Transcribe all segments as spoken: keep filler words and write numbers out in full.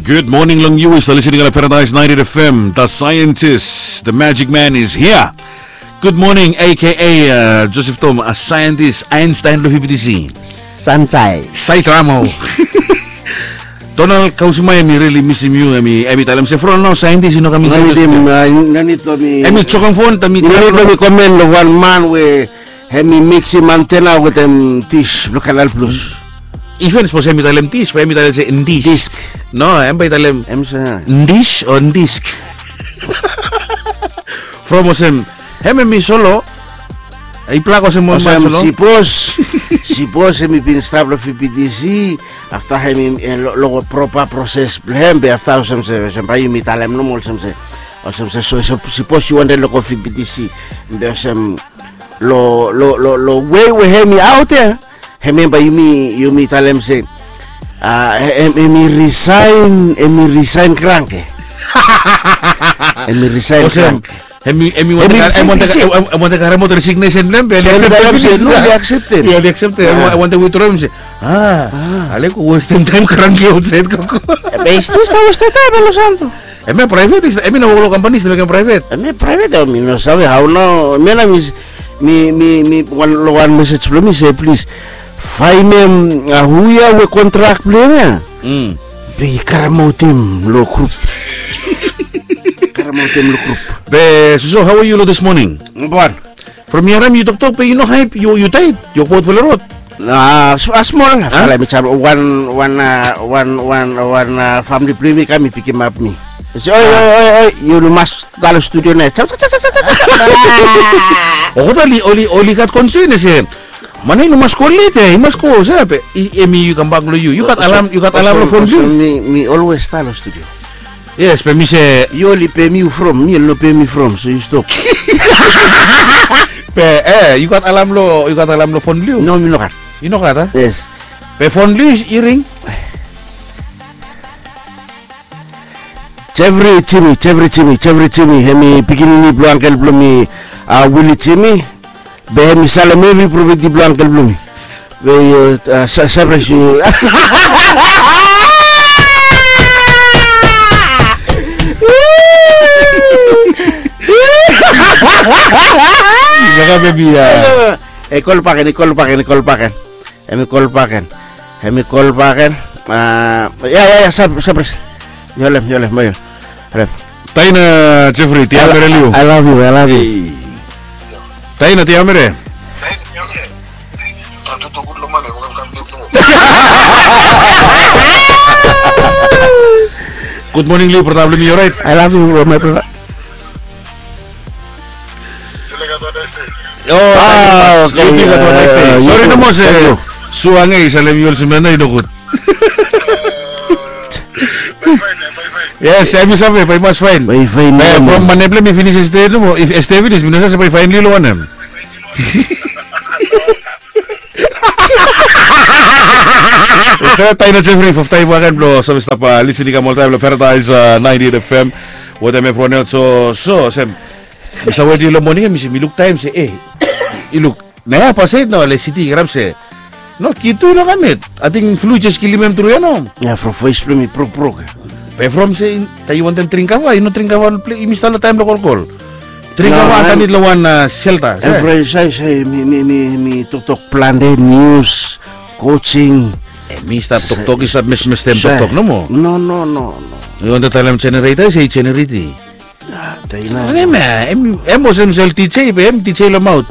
Good morning long yu we stap listening long Paradise ninety F M. The scientist, the magic man is here. Good morning, A K A, uh, Joseph Tom, a scientist, Einstein lo P P T C. Sunshine. Sai Tramo. Donald Kausima, em i rili misim yu, em i, em i talem se from nao scientist i no kam insait. No nid, uh, no nid lo mi. Em i jokem fon, em i no nid lo mi komen lo wan man we hem i miksim antena wetem dis blo Kanal Plus. Iven sapos hem i talem dis, bae hem i talem se dis. Disk. No, hem bae i talem dis o disk. From olsem, hem hem i solo. I plak olsem wan man solo. Sipos, sipos hem i bin stap lo V P T C, afta hem i, eh, lo, lo propa proses blo hem, be afta olsem se, olsem bae yumi talem nomo olsem se, olsem se, so, so, sipos yu wantem lo go V P T C, be olsem, lo, lo, lo, lo wei we hem i aot ya, hemia bae yumi, yumi talem se, ah, hem, hem i risaen, hem i risaen kranke. Hem i risaen kranke. Hem i, hem i wantem, hem i wantem karem aot resignation blo hem, be oli akseptem. Oli akseptem. Oli akseptem. Hem wantem withdraw, hem se, ah, ale go westem taem kranke aotsaed koko. Be i stil stap westem taem, Los Santos. Hemia praevet, hemi no wok lo kampani, hemi mekem praevet. Hemia praevet, hemi no save hao nao. Hemia nao mi, mi, mi, mi, wan, lo wan mesej blo mi se, plis faenem, ah, hu ya we kontrak blo hem ya. Mm. Be i karemaotem lo grup. Karemaotem lo grup. Be, so, so, hao are yu lo this morning? Wan. From mi harem yu toktok be yu no haep, yu, yu taed, yu wok baot fala rod. Ah, smol, ah, smol. Fala mi kam, wan, wan, ah, wan, wan, wan, ah, famle blo yumi kam i pikimap mi. Se, oi, oi, oi, oi, yu mas stap lo studio nao. Kam, kam, kam. O, oli, oli, oli gat konsen se man ya i no mas go let ya, i mas go se, be, i, hemi yu kambak lo yu. Yu gat alam, yu gat alam lo fon blo yu. Mi, mi always stap lo studio. Yes, be mi se. Yu oli pem yu from, mi oli no pem mi from, so yu stop. Be, eh, yu gat alam lo, yu gat alam lo fon blo yu? No, mi no gat. Yu no gat, a? Yes. Be fon blo yu i ring? Jeffrey Jimmy, Jeffrey Jimmy, Jeffrey Jimmy, hemi pikinini blo angkel blo mi, ah, Willie Jimmy. Be hemi salem evri propeti blo angkel blo mi. Be yu, ah, sa-, surprise yu. Yu kol baken, yu kol baken, yu kol baken. Hemi kol baken. Hemi kol baken. Ah, ya, ya, ya, surprise. Yu holem, yu holem, yu holem. Taina Jeffrey, tiamere lo yu. I love you, I love you. Taina, tiamere. Good morning lo yu, brata blo mi, yu orait? I love you, bro, my brother. Oh, okay. Sori nomo se Suang i salem yu olsem nao i nogud. Yes, hemi save bae i mas faen. Bae i faen. From Manebla mi finis este nomo, este finis mi no save se bae i faen lo wanem. Taina Jeffrey, fafta i baken blo save stap lisin i kam oltaem lo Paradise ninety-eight F M. Wetem evriwan els, so, so olsem mi save wet lo moning ya, mi se, mi luk taem se, eh, i luk nao ya, fastaem nao ale siti i karap se no, kid tu i no kam yet. Ating flu i jes kilim hem tru ya nao. Ya, from voes blo mi brokbrok. Be from se taem yu wantem dring kava, yu no dring kava, yumi stap lo taem blo kolkol. Dring kava andanit lo wan, ah, shelta. Evri saed, saed mi, mi, mi, mi toktok plante, nius, coaching. Eh, mi stap toktok, i stap mesmestem toktok nomo. No, no, no, no. Yu wantem talem jenereta, se i jenereti. Ah, taina. Hemia, hem, hem olsem sel D J, be hem D J lo maot.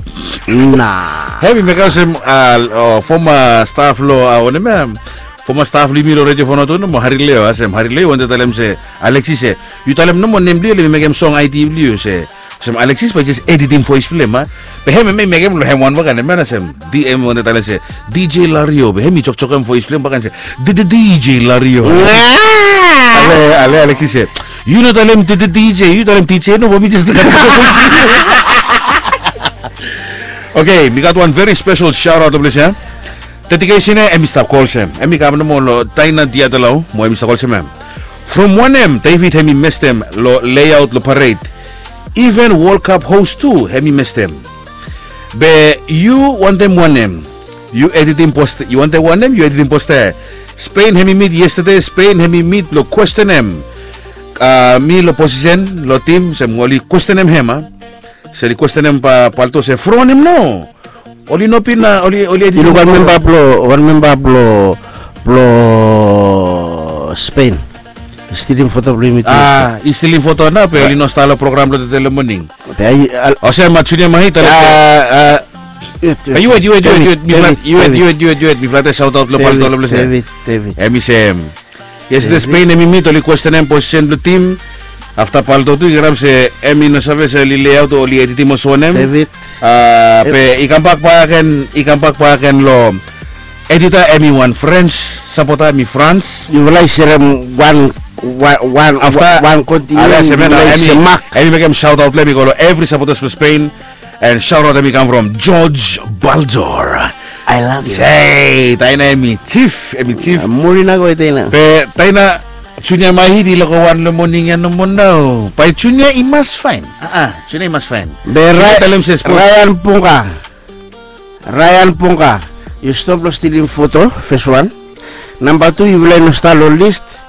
Na. Hem i mekem olsem, ah, oh, former staff lo, ah, wanem ya, former staff lo yumi lo Radio Vanuatu nomo, Harry Leo, olsem Harry Leo wantem talem se, Alexis se, yu talem nomo nem blo yu, oli mekem song I D blo yu se, olsem Alexis bae i jes editim voes blo hem, a? Be hem, hem i mekem lo hem wan baken, hem ya, olsem D M wantem talem se, D J Lario, be hem i jokjokem voes blo hem baken se, D D D J Lario. Ale, ale, Alexis se, yu no talem D D D J, yu talem D J nomo, bae mi jes talem. Okay, mi gat wan very special shout out lo ples ya. Dedication ya, hem i stap go olsem. Hem i kam nomo lo Taina Diatalau, mo hem i stap go olsem ya. From wanem David hem i mestem lo layout lo parade. Even World Cup host tu hem i mestem. Be yu wantem wanem? Yu editim posta, yu wantem wanem, yu editim posta. Spain hemi mit yestede, Spain hemi mit lo kwestenem, a, mi lo posisen lo tim se oli kwestenem hem a. Se oli kwestenem Palto se fronem no, oli no bin a, oli, oli edi. Yu luk wan memba blo, wan memba blo, blo Spain. Stilim foto blo yumi tu. A, i stilim foto nao be oli no stap lo program blo tede lo moning. Olsem a Junia Mahi talem se, a, a, yu wet, yu wet, yu wet, yu wet, yu wet, yu wet, yu wet, mi flata sautaut lo Palto lo blese. David, David. Hemi se hem. Yestede Spain hemi mit, oli kwestenem posisen blo tim. Afta Palto tu i kirap se hemi no save se oli leaut o oli editim olsem wanem. David. A, be i kambak bakegen, i kambak bakegen lo edita hemi wan Frens sapota, hemi Frans. Yufala i serem wan, wan, wan, afta wan kontinent, hemi mekem sautaut blo hem i go lo evri sapotas blo Spain. And shout out hemi kam from George Balzor. I love you. Sei, taina hemi jif, hemi jif. Murina go taina. Be taina Junia Mahi i loko wan lo moning ya nomo nao. Bae Junia i mas faen. A, Junia i mas faen. Be Ryan Ponga. Ryan Ponga, yu stop lo stilim foto, fes wan. Namba tu, yufala i no stap lo list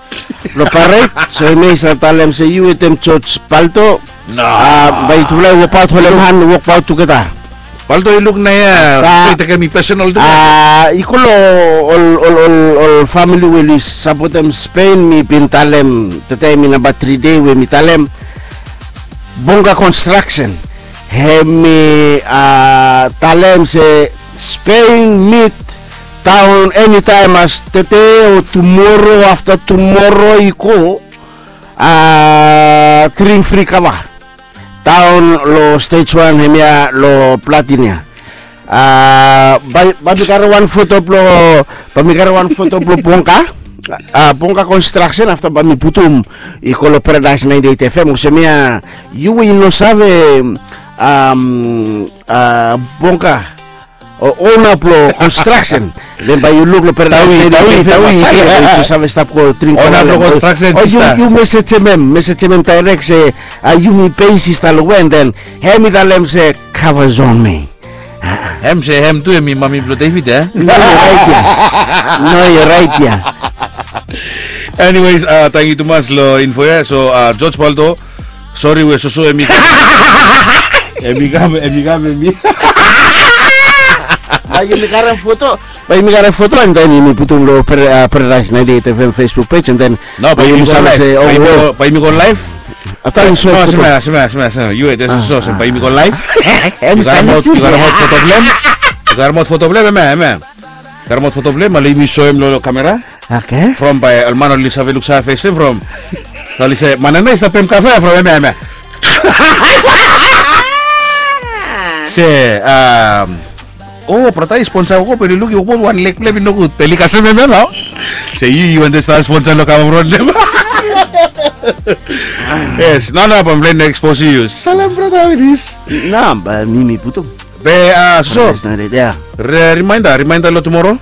lo paret, so hemia i save talem se yu wetem George Palto. No. A, bae yufala i wokbaot, holem han, wokbaot tugeta. Palto i luk naoia se i tekem i pesenal tu. A, i go lo ol, ol, ol, ol famili we oli sapotem Spain, mi bin talem, tede hemi namba tri dei we mi talem. Bonga Construction hemi, a, talem se Spain mit taon enitaem as tede o tumoro, afta tumoro i go, a, dring fri kava. Taon lo stage wan hemia lo Platin ya. A, bae, bae mi karem wan foto blo, bae mi karem wan foto blo Bonga. A, Bonga Construction, afta bae mi putum i go lo Paradise ninety-eight F M, olsem ia, yu we yu no save, am, a, Bonga, o, ona blo construction. Den bae yu luk lo Paradise ninety-eight F M, yu save stap go dring. Ona blo construction, o, yu, yu mesejem hem, mesejem hem daerek se, a, yumi bei sista lo we, den hem i talem se, kava zon mi. Hem se hem tu, hemi mami blo David, e? No, yu raet ia. No, yu raet ia. Anyways, a, tangkiu tumas lo info ia. So, a, George Palto, sori we soso hemi kam, hemi kam, hemi kam, hemi. Bae yumi karem foto, bae yumi karem foto, and then yumi putum lo Paradise ninety-eight F M Facebook page, and then bae yumi go live. Bae yumi go live. Afta yumi soem foto. Smea, smea, smea, smea. Yu wet, soso, bae yumi go live. Yu karemaot foto blo hem. Yu karemaot foto blo hem, hemia, hemia. Karemaot foto blo hem, ale yumi soem lo kamera. Oke. From bae ol man oli save luksave fes blo hem from. Oli se, man nao i stap pem kafe from hemia, hemia. Se, am, o, brata i sponsa wok, be oli luk i wok, wan leg blo hem i nogud, be oli kasem hemia nao. Se yu, yu wantem stap sponsa lo kava from hem. Yes, nao, nao, bae mi plan no ekspos yu. Salam, brata, how it is? Nao, bae mi, mi putum. Be, a, so. Remainda, remainda lo tumoro.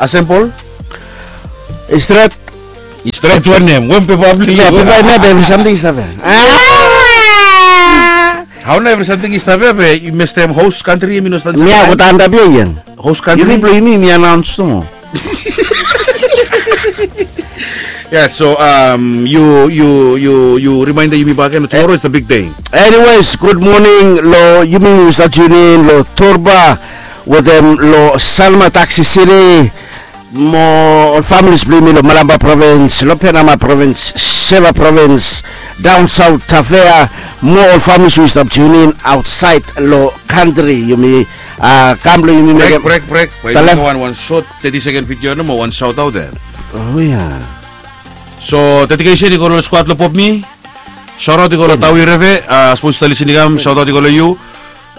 Asembol. I stret. I stret wanem? Wetem pepablik. Pepablik, evri samting i stap ia. Hao nao evri samting i stap ia, be yu mestem host kantri, yumi no stap ia. Ia, go antap ia. Host kantri. Yumi blo yumi, yumi anaons tu. Yeah, so, um, yu, yu, yu, yu remainda yumi bakegen, tomorrow is the big day. Anyways, gud moning lo yumi we stap tune in lo Torba, wetem lo Salma, Taxi City, mo ol families blo yumi lo Malampa Province, lo Penama Province, Seva Province, down south Tafea, mo ol families we stap tune in outside lo kantri, yumi, a, kam blo yumi mekem. Brek, brek, brek. Bae yumi mekem wan, wan sot thirty second video nomo, wan shout out ia. O ia. So, dedication i go lo skuad lo Pop Mi. Shout out i go lo Tawi Reve, a, sapos yu stap lisin i kam, shout out i go lo yu.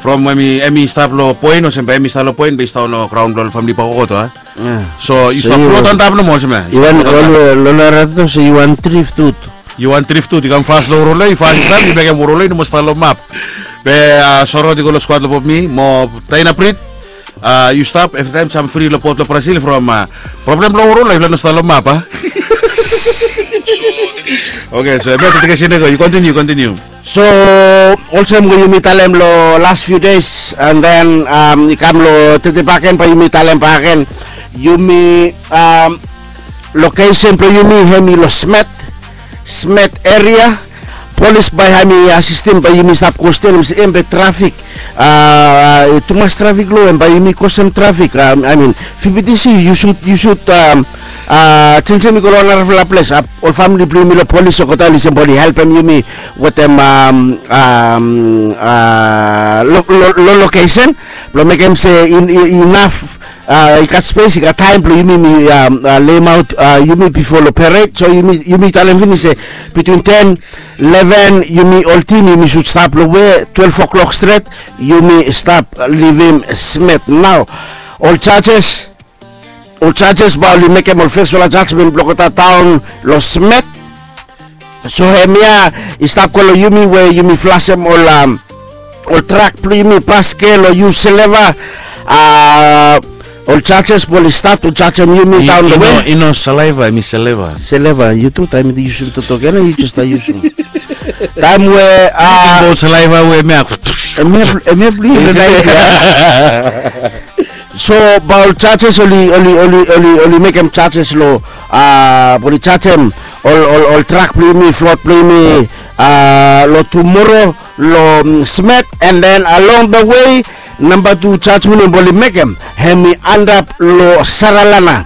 From hemi, hemi stap lo poen, olsem bae hemi stap lo poen, be i stap lo graon blo ol famili bakegen, a. So, yu stap float antap nomo, olsem ia. Yu wan, lo, lo, lo, lo, so yu wan drift out. Yu wan drift out, yu kam fas lo Woroloi, fas i stap, yu mekem Woroloi nomo stap lo map. Be, a, shout out i go lo skuad lo Pop Mi, mo Taina Prit. A, yu stap, evri taem sam fri lo port lo Brazil from, a, problem lo Woroloi, lo no stap lo map, a. Okay, so, hemia dedication i go, yu continue, continue. So, olsem we yumi talem lo last few days, and then, um, i kam lo tede bakegen, bae yumi talem bakegen, yumi, um, lokesen blong yumi hemi long Smet, Smet eria. Polis bae hemi asistem bae yumi stap go stil, hemi se hemia trafik, a, tumas trafik long hem, bae yumi kosem trafik. Amin, V P T C, yu sud, yu sud, a, jenjem i go long narafala ples. Ol famili blong yumi long Polis olgeta oli sem bae oli helpem yumi wetem, a, lo, lo, lo lokesen blong mekem se inaf, a, i gat spes, i gat taem blong yumi, mi, a, lemaot, a, yumi bifo long pered. So yumi, yumi talem finis se bitwin ten, leven, yumi ol tim yumi sud stap long we twelef o'klok stret, yumi stap livim Smet. Nao ol jajes, ol jajes bae oli mekem ol fesfala jajmen blong olgeta taon long Smet. So hemia i stap go long yumi we yumi flasem ol, a, ol trak blong yumi, baskil, o yus sileva. A, ol jajes bae oli stat long jajem yumi daon long we. I no saliva, hemi sileva. Sileva, yu tu taem yu yusum toktok ia, yu jes stap yusum. Taem we, a, ol saliva we hemia, hemia blong yu. So bae ol jajes oli, oli, oli, oli, oli mekem jajes long, a, bae oli jajem ol, ol, ol trak blong yumi, flot blong yumi, a, long tumoro long, mm, Smet, and then along the way, namba tu jajmen we bae oli mekem hemi antap long Saralana.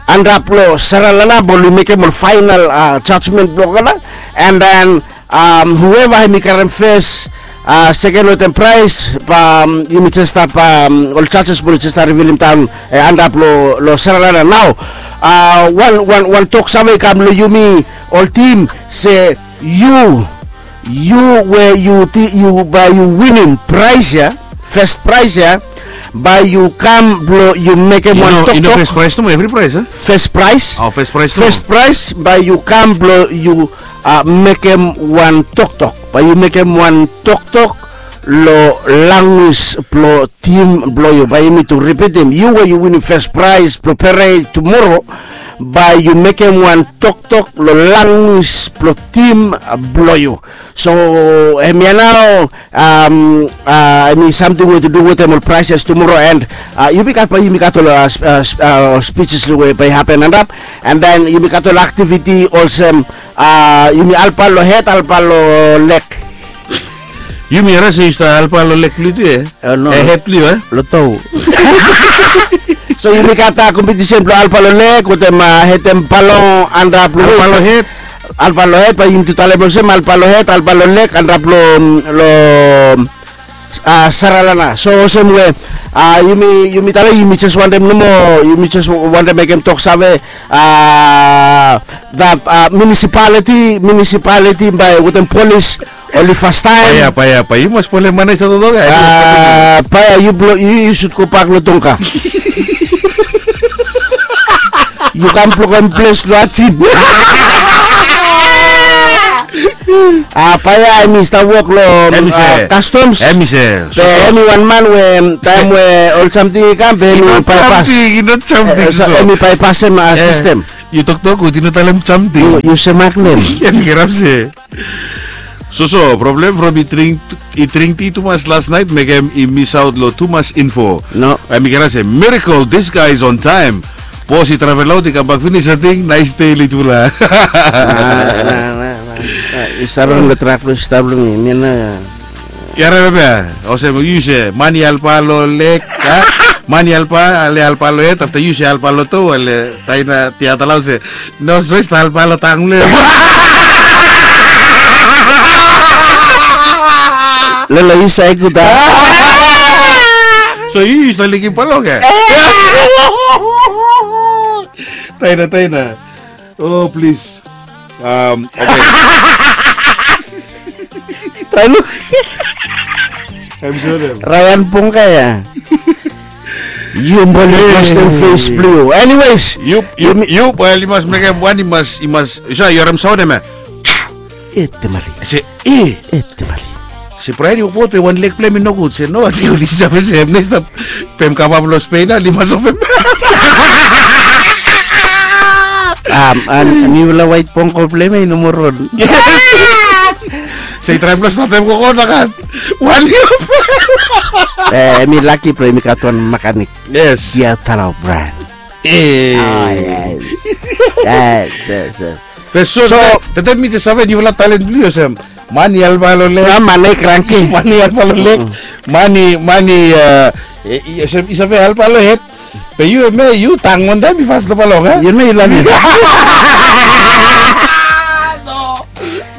Antap long Saralana bae oli mekem ol faenal, a, jajmen blong olgeta, and then, a, hueva hemi karem fes, a, seken wetem praes, bae, a, yumi jes stap, a, ol jajes bae oli jes stap rivilim daon, e, antap long, long Saralana. Nao, a, wan, wan, wan toksave i kam long yumi ol tim se yu, yu we yu ti-, yu bae yu winim praes ia, fes praes ia, bae yu kam blong yu mekem wan toktok. Fes praes nomo, evri praes, a? Fes praes. O, fes praes nomo. Fes praes, bae yu kam blong yu, a, mekem wan toktok. Bae yu mekem wan toktok long lanwis blong tim blong yu. Bae yumi tu ripitim, yu we yu winim fes praes blong pered tumoro, bae yu mekem wan toktok long lanwis blong tim blong yu. So hemia nao, a, hemi samting we tu du wetem ol praeses tumoro, and, a, yumi gat, bae yumi gat ol, a, spijis we bae i hapen antap, and then yumi gat ol aktiviti olsem, a, yumi alpa long hed, alpa long leg. Yumi harem se yu stap alpa long leg blong yu tu, e? E, no. E, hed blong yu, e? Long toa. So yumi gat, a, kompetisen blong alpa long leg wetem, a, hedem balong antap long wet. Alpa long hed. Alpa long hed, bae yumi tu talem olsem alpa long hed, alpa long leg antap long, long, a, Saralana. So olsem we, a, yumi, yumi talem yumi jes wantem nomo, yumi jes wantem mekem toksave, a, that, a, municipality, municipality bae wetem polis oli fastaem. Paea, paea, paea, yu mas polem man ia i stap toktok ia. A, paea, yu blong, yu, yu sud gobak long Tonga. Yu kam blokem ples long Ajip. A, paea hemi stap wok long, a, Customs. Hemi se, so, so, hemi wan man we taem we ol samting i kam, be hemi baepas. I no samting, i no samting, e, so, so hemi baepasem, a, sistem. Yu toktok gud, yu no talem samting. Yu, yu smaklem. Hemi kirap se. So, so, problem from i dring, i dring ti tumas las naet mekem i misaot long tumas info. No. Hemi kirap se, miracle, this guy is on time. Bos i travel aot, i kambak finis, ating, naes dei, litfala. A, na, na, na, na. A, i stap long trak blong, stap long mi, mi na. Yu harem hemia, olsem yu se, man i alpa long leg, a? Man i alpa, ale alpa long hed, afta yu se alpa long toa, ale Taina Tiatala olsem, no, so i stap alpa long tang blong hem. Lolo, yu save gud, a? So yu, yu stap likim balong ia? Taina, Taina. O, plis. Am, oke. Taina. Em, sori. Ryan Pongka ia. Yu bali, e, Christian face blue. Anyways, yu, yu, yu, bae yu mas mekem wan, yu mas, yu mas, yu sa, yu harem saon ia. E, temali. Se, e. E, temali. Se Brian i wokbaot be wan leg blong hem i nogud. Se no, ating oli save se hem nao i stap, be hem kambak long Spain, a, oli mas ofem. Am, a, niufala waet pongko blong hem i no moa ron. Se i traem blong statem gogo nogat. Wan yia. E, hemi laki blong hem i gat wan mekanik. Yes. Ia, tala Brian. Yes. Yes, yes, yes. Be so, so, tete mi te save yufala talent blong yu olsem. Man i help alo lek. Man i kranki. Man i help alo lek. Man i, man i, uh, i save help alo het. Be yu, me, yu tang wan taim i fas lo palong, eh? Yu me yu lani.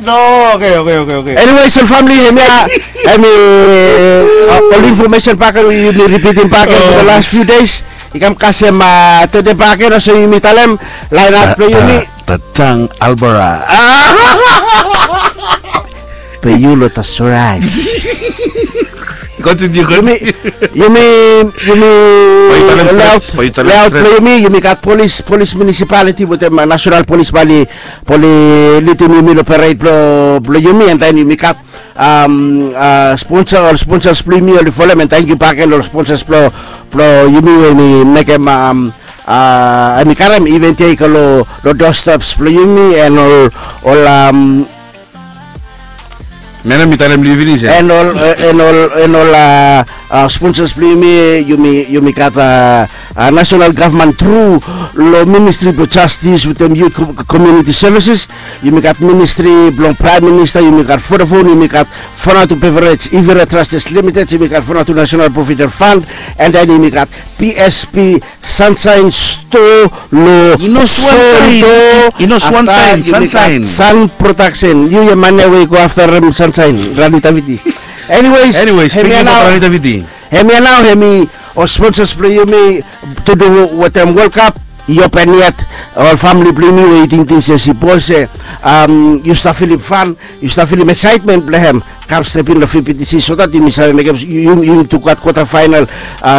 No, okay, okay, okay, okay. Anyways, ol famili, hemia, hemi ol information bak we yumi ripitim bak for the last few days. I kam kasem tede bak, olsem yumi talem, lain aut blong yumi. Tatang Albora. Be yu lo ta sorais. Continue, continue. Yumi, yumi, yumi layout, layout blong yumi, yumi gat polis, polis municipality wetem national polis bae oli lidim yumi lo parade blong yumi, and then yumi gat sponsor, ol sponsors blong yumi oli folem, and thank you bak gen lo ol sponsors blong yumi we hemi mekem, hemi karem event ia i go lo doorsteps blong yumi, and ol, ol, um, Mena mi talem li finis ya. And ol, and ol, and ol sponsors blong yumi, yumi, yumi gat national government through lo Ministry blong Justice wetem Youth Community Services. Yumi gat ministry blong Prime Minister, yumi gat Vodafone, yumi gat Vanuatu Beverage, Ivira Trust Limited, yumi gat Vanuatu National Provident Fund, and then yumi gat P S P Sunshine Store lo Soto. Afta yumi gat Sun Production. Yu ya man ya we i go aftarem Sunshine, Rani Taviti. Anyways, hemia nao, hemi ol sponsors blong yumi, to do wetem World Cup i open yet. Ol famili blong yumi we i tingting se sipos se yu stap filim fan, yu stap filim excitement blong hem, kam step in lo V P T C so that yumi save mekem, yumi tu gat quarter final,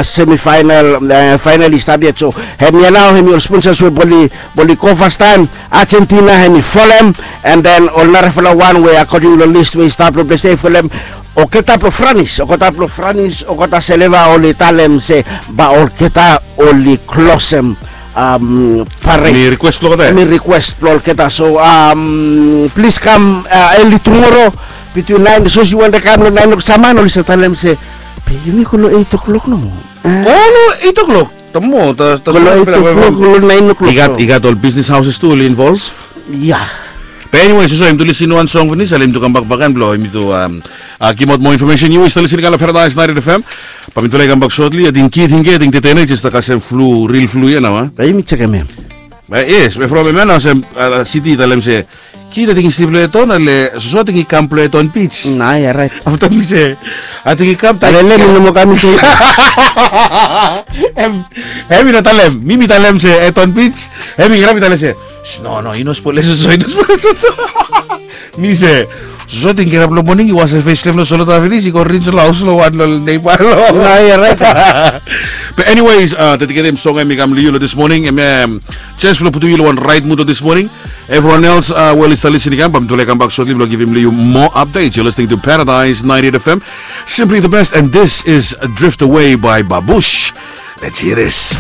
semi final, final i stap yet. So hemia nao, hemi ol sponsors we bae oli go fastaem. Argentina hemi folem, and then ol narafala wan we according lo list we i stap lo ples ia i folem. Olgeta blong Franis, olgeta blong Franis, olgeta Seleva oli talem se bae olgeta oli klosem parade. Hemi request blong olgeta. Hemi request blong olgeta. So plis kam early tumoro, between naen, sapos yu wantem kam lo naen klok, sam man oli save talem se, be yumi go lo eit klok nomo. Go lo eit klok. Go lo eit klok, go lo naen klok. I gat ol business houses tu oli involve. Ya. Be anyways, so yumi tu lisin wan song finis, ale yumi tu kambak bakegen blong yumi tu givimaot moa information. Yu i stap lisin lo Paradise ninety F M. Bae mi tu laik kambak shortly. Ating kid, ating kid, ating tetene i jes stap kasem flu, real flu ya nao. Bae yumi jekem hem. Yes, be from hemia nao olsem, siti i talem se, kid, ating i slip lo Eton, ale Soso ating i kam lo Eton Beach. Nao ya, rait. Afta mi se, ating i kam, ale mi no moa kam. Hem i no talem, mi mi talem se Eton Beach. Hem i kirap i talem se, no, no, i no spolem Soso, i no spolem Soso. Mi se, Soso ating kirap lo moning, i wasem fes blong hem lo solota finis, i go rinse lo haos lo wan lo neiba. Nao ya, rait. Be anyways, dedicatem song hemi kam lo yu lo this morning, hemia jes blong putum yu lo wan rait mud lo this morning. Everyone else we oli stap lisin i kam, bae mi tu laik kambak shortly blong givim lo yu moa updates. You're listening to Paradise ninety-eight F M, simply the best, and this is Drift Away by Babush. Let's hear this.